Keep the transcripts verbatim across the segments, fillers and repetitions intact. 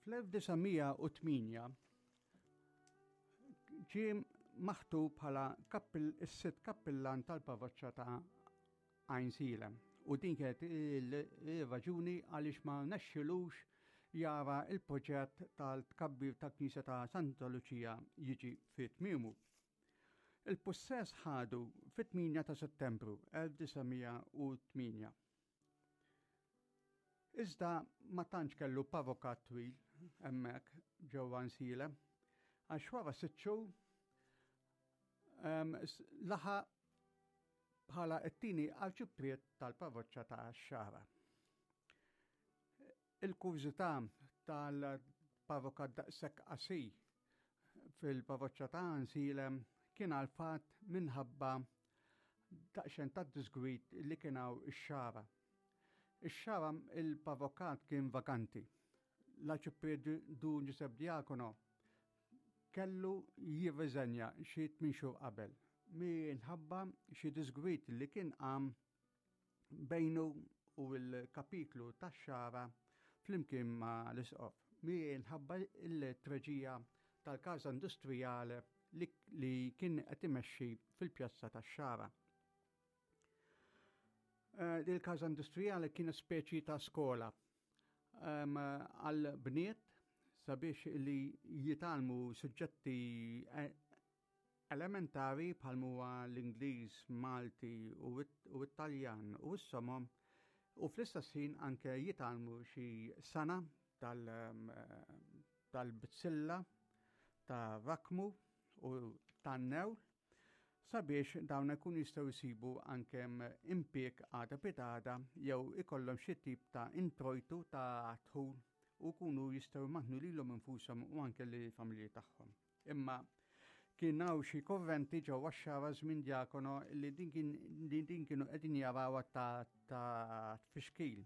Fl-elf disa' mija u tmienja ġie maħtub bħala kappil-, is-sitt kappillan tal-parroċċa ta' Għajnsielem. U din kienet il-raġuni għaliex ma nexxilux jara il-proġett tal-tkabbir ta' Knisja ta' Santa Luċija jiġi fi tmiemu. Il-pussess ħadu fit-tmienja ta' Settembru elf disa' mija u tmienja. Iżda ma tantx kellu parrokat twil hemmhekk ġewwa Għajnsielem, għax wara sitt xhur, ehm, s-, laħaq bħala t-tieni arċipriet tal-parroċċa ta' Xagħra. Il-kurżità tal-parrokat daqshekk qasir fil-parroċċa ta' Għajnsielem kien għal fatt minħabba daqsxejn ta' disgwid li kien hawn ix-Xagħra. Ix-Xagħra il-parrokat kien vakanti. L-arċipriet Dun Giuseppe Diacono kellu jirriżenja xi tmien xhur qabel minħabba xi disgwid li kien qam bejnu u l-kapitlu tax-Xagħra flimkien ma' l-isqof minħabba l-treġija tal-Casa Industrijale li, li kien qed imexxi fil-pjazza tax-Xagħra. Eh, il-Casa Industrijale kien speċi ta' skola, ehm, għal bniet sabiex li jitgħallmu suġġetti, eh, elementari bħal huwa l-Ingliż, Malti u it-, u Italjan u s-somom, u fl-istess ħin anke jitgħallmu xi sana tal-, ehm, tal-bizzilla, ta' rakmu u tan-newl, sabiex dawn ikun jistgħu jsibu anke impjieg għada pitgħada jew ikollhom xi tip ta' introjtu ta' dħul u jkunu jistgħu jmantnu lilhom infushom u anke lill-familji tagħhom. Imma kien hawn xi korrenti ġewwa x-Xagħra żmien Diacono li din kien, li din kienu qegħdin jarawha ta', ta' tfixkil,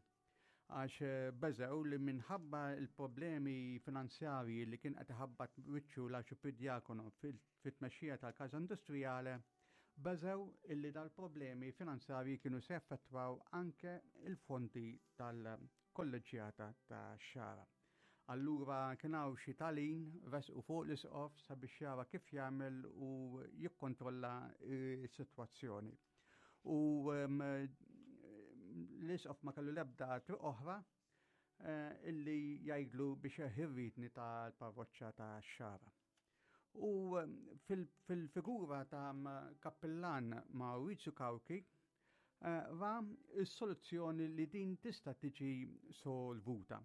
għax beżew li minħabba l-problemi finanzjarji li kien qed iħabbat wiċċu l-Arċipriet Diacono fil-, fit-tmexxija tal-Casa Industrijale, beżew illi dal-problemi finanzjarji kienu se jaffettwaw anke il-fondi tal-kolleġġjata ta' Xagħra. Allura kien hawn xi talin resqu fuq l-isqof sabiex jara kif jagħmel u jikkontrolla s-sitwazzjoni. U, ehm, l-isqof ma kellu l-ebda triq oħra, eh, illi jgħidlu biex jeħirritni tal-parroċċa ta' Xagħra. U, ehm, fil-, fil-figura ta' kappillan Maurizio Cauchi, eh, ra s-soluzzjoni li din tista' tiġi solvuta.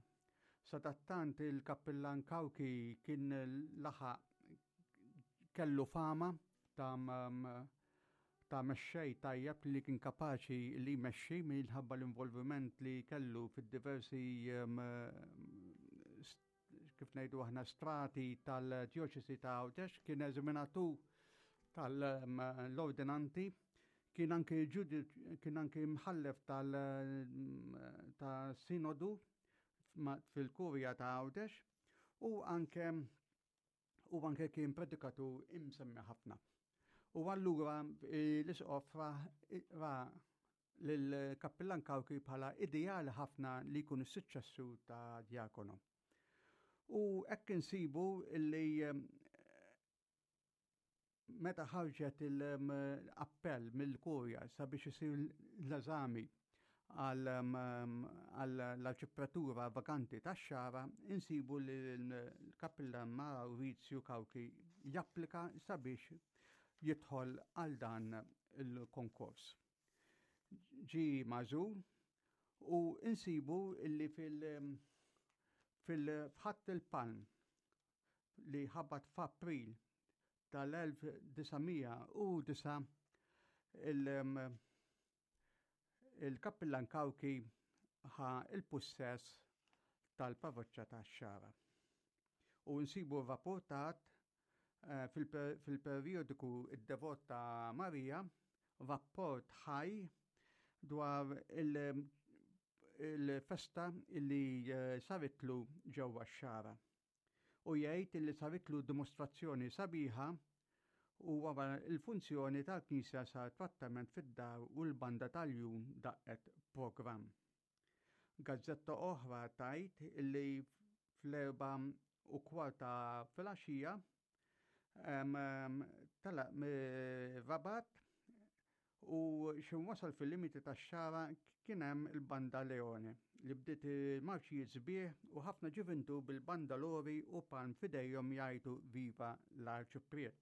Sadattant il-kappillan Cauchi kien laħaq kellu fama ta' m-, ta' mexxej tajjeb li kien kapaċi li jmexxi minħabba l-involviment li kellu fid-diversi, em, kif ngħidu aħna strati tal-djoċesi ta' Għawdex, kien eżaminatur tal-ordinanti, kien anke ġudi-, kien anke mħallef tal-, ta' sinodu ma-, fil-kurja ta' Għawdex, u anke, u anke kien predikatur imsemmi ħafna. U allura, eh, l-isqof ra, ra lill-kappillan Cauchi bħala ideali ħafna li jkun is-suċċessur ta' Diacono. U hekk insibu li, eh, meta ħarġet il-appell mill-kurja sabiex isir l-eżami għall-arċipratura vakanti tax-Xagħra, insibu li l-kappillan Maurizio Cauchi japplika sabiex jidħol għal dan il-konkors. Ġi magħżul u insibu illi fil-, fil-Ħadd il-Palm li ħabat f'April tal-elf disa' mija u disa' il-, il-kappillan Cauchi ħa il-pussess tal-parroċċa tax-Xagħra. U nsibu rapportat, eh, fil-per-, fil-periodiku Id-Devot ta' Marija, rapport ħaj dwar il-, il-festa illi, eh, saritlu ġewwa x-Xagħra. U jgħid illi saritlu dimostrazzjoni sabiħa u wara il-funzjoni tal-Knisja sar trattament fid-dar u l-banda tal-jum daqqet programm. Gazzetta oħra tajt illi fl-erba u kwarta filgħaxija telaq Rabat u x'ħin wasal fil-limiti tax-Xagħra kien hemm il-Banda Leone li bdiet il-marċijiet sbieħ u ħafna ġuvintu bil-bandalori u palm f'idejhom jgħidu "Viva l-Arċipriet".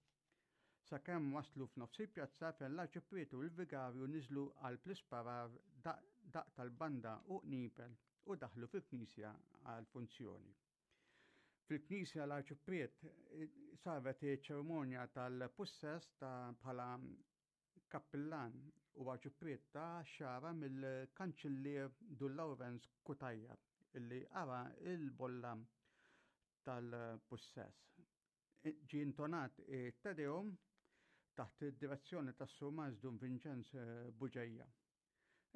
Sakemm waslu f'nofs il-pjazza, fejn l-Arċipriet u l-Vigarju niżlu għal plisparar, daq tal-banda u qniepen, u daħlu fil-knisja għal funzjoni. Fil-knisja l-Arċipriet saret ċerimonja tal-pussess ta' bħala kappillan u arċipriet tax-Xagħra mill-kanċillier Dun Lawrenz Cutajar, illi qara il-bolla tal-pussess. Ġie intonat Te Deum taħt id-direzzjoni tas-Surmast Dun Vincenz Buġeja.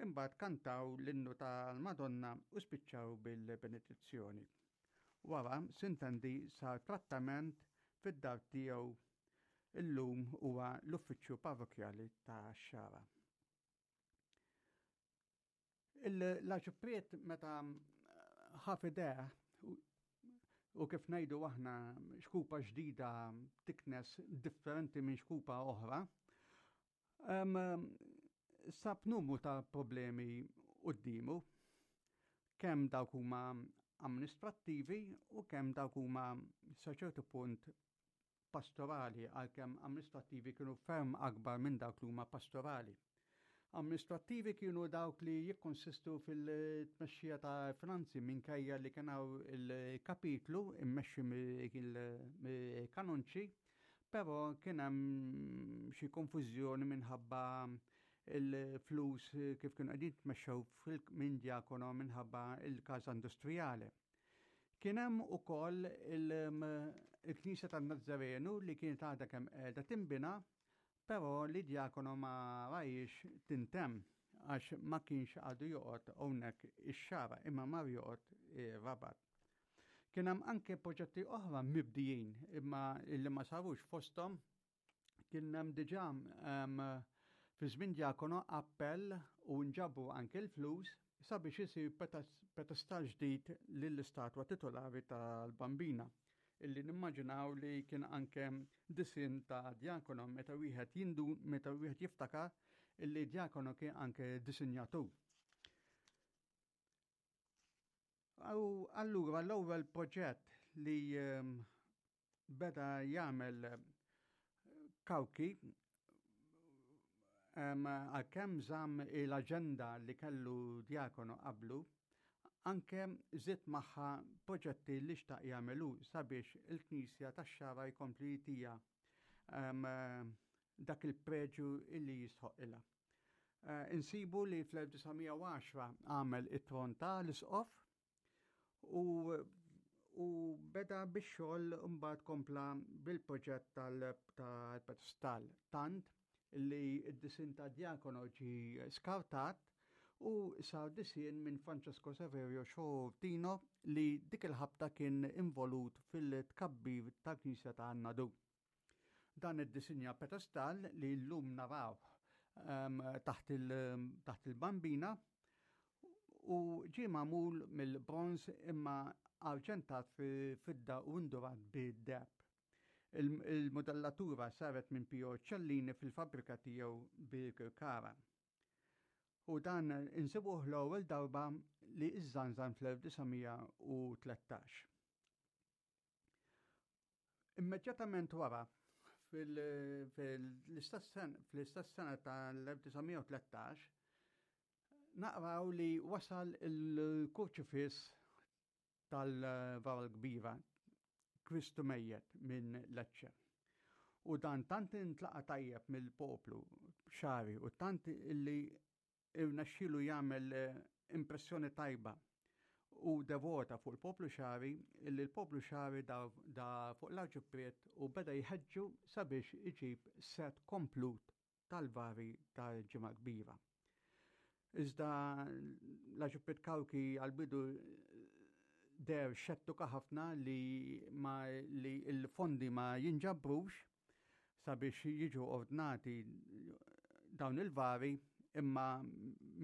Imbagħad kantaw l-innu tal-Madonna u spiċċaw bil-benedizzjoni. Wara, sintendi, sar trattament fid-dar tiegħu, illum huwa l-uffiċċju parrokjali tax-Xagħra. L-Arċipriet meta ħa f'idejh, u kif ngħidu aħna, xkupa ġdida tiknes differenti minn xkupa oħra, sab numru ta' problemi quddiemu, kemm dawk huma amministrattivi u kemm dawk huma sa ċertu punt pastorali, għalkemm amministrattivi kienu ferm akbar minn dawk li huma pastorali. Amministrattivi kienu dawk li jikkonsistu fil-tmexxija ta' finanzi, minkejja li kien hawn il-kapitlu immexxi mill-kanonċi, però kien hemm xi konfużjoni minħabba il-flus kif kienu qegħdin tmexxew minn Diacono minħabba il-Casa Industrijali. Kien hemm ukoll il-Knisja tan-Nazzarenu li kienet għadha kemm qiegħda tinbina, però li Diacono ma rahiex tintemm għax ma kienx għadu joqgħod hawnhekk ix-Xagħra imma mar joqgħod Rabat. Kien hemm anke proġetti oħra mibdijin imma li ma sarux. Fosthom kien hemm diġà fi żmien Diacono appell u nġabu anke l-flus sabiex isir pedestal ġdid lill-istatwa titolari tal-Bambina, illi nimmaġinaw li kien anke disin ta' Diacono meta wieħed jindu meta wieħed jiftakar illi Diacono kien anke disinjatur. U allura l-ewwel proġett li ehm, beda jagħmel Cauchi, għalkemm żamm l-aġenda li kellu Diacono qablu, anke żied magħha proġetti li xtaq jagħmlu sabiex il-Knisja tax-Xagħra jkompli jtiha dak il-preġu illi jistħoqilha. Eh, insibu li fl-elf disa' mija u għaxra għamel it-tron ta' l-isqof u u beda bix-xogħol, mbagħad kompla bil-proġett tal-pedestal, tant li d-disin ta' Diacono ġi skartat u sar disin minn Francesco Saverio Sciortino, li dik il-ħabta kien involut fil-tkabbir tal-Knisja ta' Nadur. Dan id-disinja pedestal li llum naraw um, taħt il-Bambina u ġie magħmul mill-bronz imma arġentat fi fidda u indurat bid-deheb. Il-modellatura saret minn Pio Cellini fil-fabrika tiegħu Birkirkara. U dan insibuh l-ewwel darba li iżżanżan fl-elf disa' mija u tlettax. Immedjatament wara, fil-istess sena tal-elf disa' mija u tlettax, naqraw li wasal il-kurċifiss tal-Vara l-Kbira, Kristu Mejjet, minn Lecce. U dan tant intlaqa tajjeb mill-poplu xagħri u tant illi irnexxielu jagħmel eh, impressjoni tajba u devota fuq il-poplu xagħri, illi l-poplu xagħri da, da fuq l-arċipriet u beda jħeġġu sabiex iġib set komplut tal-vari tal-Ġimgħa Kbira. Iżda l-Arċipriet Cauchi għal-bidu deher xettika ħafna li, ma, li il-fondi ma jinġabrux sabiex jiġu ordnati dawn il-vari, imma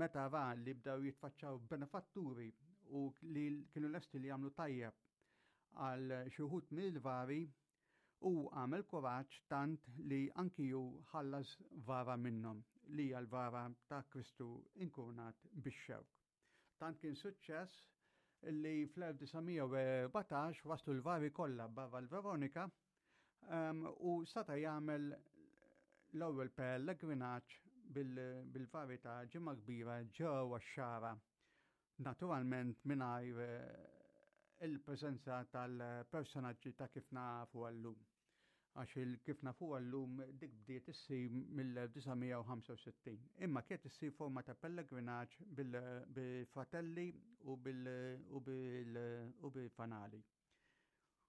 meta ra li bdew jitfaċċaw benefatturi u li kienu lesti li jagħmlu tajjeb. Għal xi wħud mill-vari u għamel kuraġġ tant li anki ju ħallas vara minnhom, li hija l-vara ta' Kristu inkurunat bix-xewk. Tant kien suċċess li fl-elf disa' mija u erbatax waslu l-vari kollha barra l-Veronika um, u sata jagħmel l-ewwel pellegrinaġġ bil-vari ta' Ġimgħa Kbira ġewwa x-Xagħra. Naturalment mingħajr eh, il-preżenza tal-personaġġi ta' kif nafu għallum. Għax il-kif nafu għallum dik bdiet issir mill-elf disa' mija u ħamsa u sittin. Imma kienet issir forma ta' pellegrinaġġ bil-fratelli u bil-fanali.